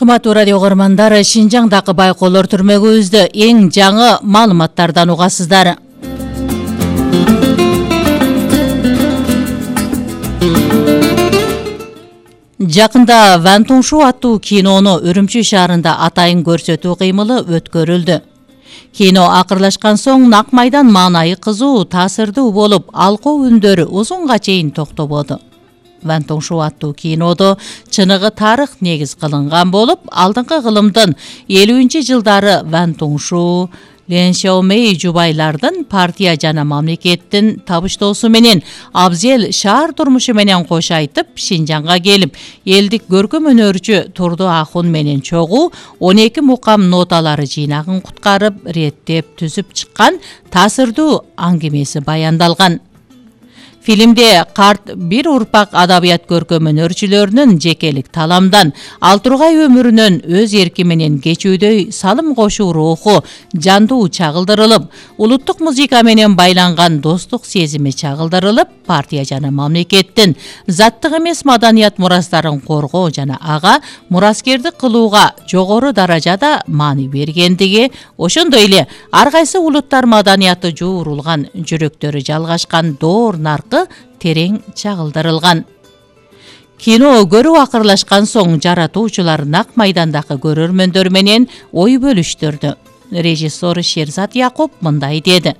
Кымбаттуу радио көрөрмандар, Шинжаңдагы байкоолор түрмөгүбүздө эң жаңы маалыматтардан угасыздар. Жакында Ван Туншу аттуу кинону Үрүмчү шаарында атайын көрсөтүү кыймылы өткөрүлдү. Кино акырлашкан соң нак майдан маанайы кызуу, таасирдүү болуп, алкоо үндөрү узунга чейин токтободу. Ван Туншу аттуу кинодо чыныгы тарых негиз кылынган болуп, алдыңкы кылымдын 50-жылдары Ван Туншу, Лен Шаомей жубайлардын партия жана мамлекеттин табыштоосу менен абзел шаар турмушу менен кош айтып, Шинжаңга келип, элдик көркөм өнөрчү Турду Ахун менен чогуу 12 мукам ноталары жыйнагын куткарып, реттеп түзүп чыккан таасирдүү аңгемеси баяндалган. Фильмде карт бир урпак адабият көркөм өнөрчүлөрүнүн жекелик таламдан, ал тургай өмүрүнөн өз эрки менен кечүүдөй салым кошуу руху жандуу чагылдырылып, улуттук музыка менен байланган достук сезими чагылдырылып, партия жана мамлекеттин заттык эмес маданият мурастарын коргоо жана ага мураскердик кылууга жогору даражада маани бергендиги, ошондой эле ар кайсы улуттар маданияты жуурулган, жүрөктөрү жалгашкан доор наркы терең чагылдырылган. Кино көрүү акырлашкан соң жаратуучулар нак майдандагы көрөрмөндөр менен ой бөлүштүрдү. Режиссер Шерзат Якуп мындай деди: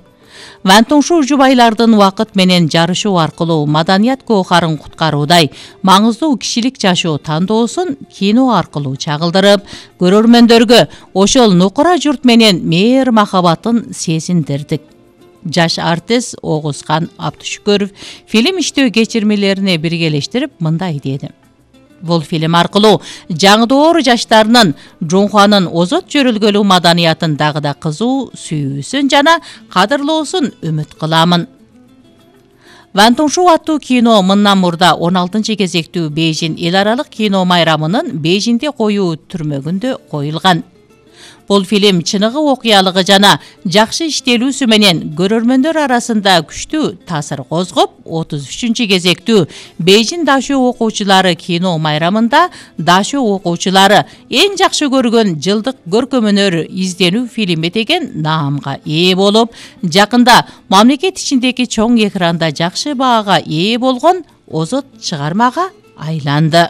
Ван Туншу жубайлардын убакыт менен жарышуу аркылуу маданият коохарын куткаруудай маңыздуу кишилик жашоо тандоосун кино аркылуу чагылдырып, көрөрмөндөргө ошол нукура журт менен мээр махабатын сезиндирдик. Жаш артист Огузхан Абдышүкөров фильм иштөө кечирмелерине биргелештирип мындай деди: Бул фильм аркылуу жаңы доор жаштарынын Жунхуанын озот жөрөлгөлүү маданиятын дагы да кызуу сүйүүсүн жана кадырлоосун үмүт кыламын. Ван Туншу аттуу кино мындан мурда 16 кезектүү Бейжин эл аралык кино майрамынын Бейжинде коюу түрмөгүндө коюлган. Бул фильм чыныгы окуялыгы жана жакшы иштелүүсү менен көрөрмөндөр арасында күчтүү таасир козгоп, 33 кезектүү Бейжин Дашуу окуучулары кино майрамында Дашуу окуучулары эң жакшы көргөн жылдык көркөм өнөр изденүү фильми деген наамга ээ болуп, жакында мамлекет ичиндеги чоң экранда жакшы баага ээ болгон озот чыгармага айланды.